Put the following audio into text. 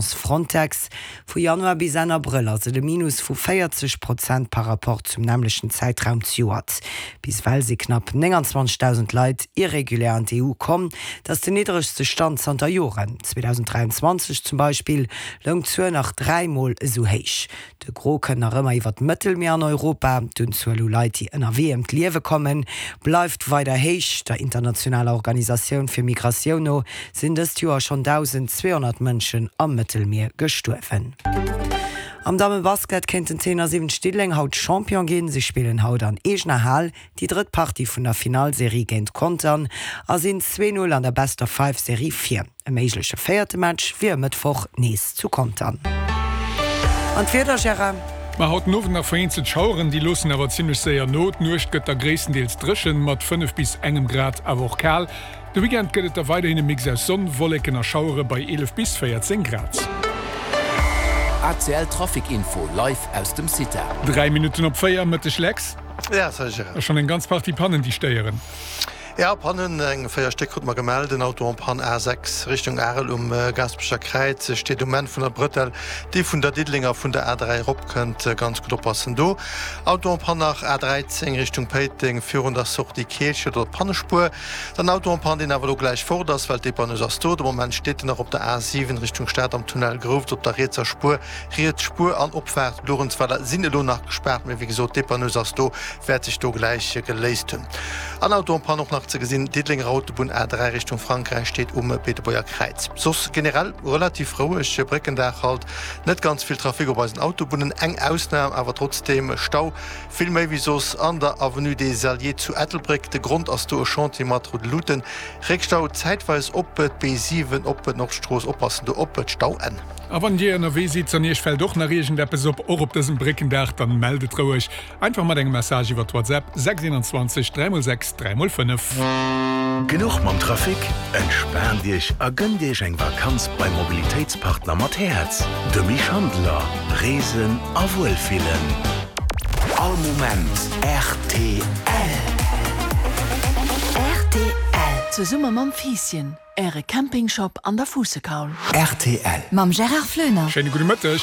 Frontex, Vu Januar bis Enn Abrëll ass et e Minus vu 40 Prozent par Rapport zum nämmlechten Zäitraum zejoert. Bis ewell si knapp 29.000 Leit irregulär an d'EU komm. Dat ass den niddregste Stand zanter Joren. 2023 zum Beispill loung d'Zuel nach 3 Mol esou héich. De Gros kënnt nach ëmmer iwwer d'Mëttelmier an Europa. D'Unzuel u Leit, déi ënnerwee ëm d'Liewe kommen, bleift weider héich. Der internationaler Organisatioun fir Migratioun no sinn dëst Joer schonn 1.200 Mënschen am Mëttelmier gestuerwen. Am Dammebasket kéinten d'T71 Diddeleng haut Champion ginn. Si spillen haut an eegener Hal déi drëtt Partie vun der Finallserie géint Contern a sinn 2, 0 an der Best-of-Five-Serie vir. E méigleche véierte Match wier e Mëttwoch nees zu Contern. An d'Wieder, Gérard? Ma haut den Owend nach vereenzelt Schaueren, déi loossen awer zimmlech séier no. D'Nuecht gëtt da gréisstendeels dréchen, mat 5 bis engem Grad, awer och kal. De Weekend gëtt et da weiderhin e Mix aus Sonn, Wolleken a Schauere bei 11 bis 14 Grad. ACL Trafic Info live aus dem CITA. 3 Minutten op 4, Mëtteg Lex. Ja, salut Gérard. A schonn eng ganz Partie Pannen, déi stéieren. Ja, Pannen, eng 4 Stéck krute mer gemellt. En Auto en panne A6 Richtung Arel um Gaasperecher Kräiz steet um Enn vun der Brëttel, déi vun der Diddelenger vun der A3 erop kënnt. Ganz gutt oppassen do. Auto en panne nach A13 Richtung Péiteng virun der Sortie Keelchen oder Pannespuer. Dann Auto en panne, deen awer elo gläich fort ass, well d'Dépanneuse ass do. De Moment steet en nach op der A7 Richtung Stad am Tunnel Grouft op der rietser Spuer. Riets Spuer an Opfaart Luerenzweiler sinn elo nach gespaart, mee wéi gesot, d'Dépanneuse ass do, wäert sech do gläich geléist hunn. An Auto en panne och nach ze gesinn, Diddelenger Autobunn A3 Richtung Frankräich steet um Beetebuerger Kräiz. Soss generell relativ roueg Bréckendag halt, net ganz vill Trafic op eisen Autobunnen, eng Ausnam awer trotzdeem, Stau vill méi wéi soss an der Avenue des Alliés zu Ettelbréck. De Grond ass do e Chantier mat roude Luuten. Réckstau zäitweis op d'B7 op d'Nordstrooss, oppassen do op d'Stauenn. A wann Dir ënnerwee sidd an Iech fält och nach iergendeppes op, och op dësem Bréckendag, dann mellt et roueg einfach mat engem Message iwwert WhatsApp 6 21 3 x 6 3 x 5. Genuch mam Trafic? Entspaant Iech a gënnt Iech eng Vakanz beim Mobilitéitspartner mat Häerz, de Mich Handeler. Reesen a Wuelfillen. All Moment rtl. Rtl. Zesumme mam Fiisschen. Äre Campingshop an der Fuussekaul. Rtl. Mam Gérard Floener. Schéine gudde Mëtteg.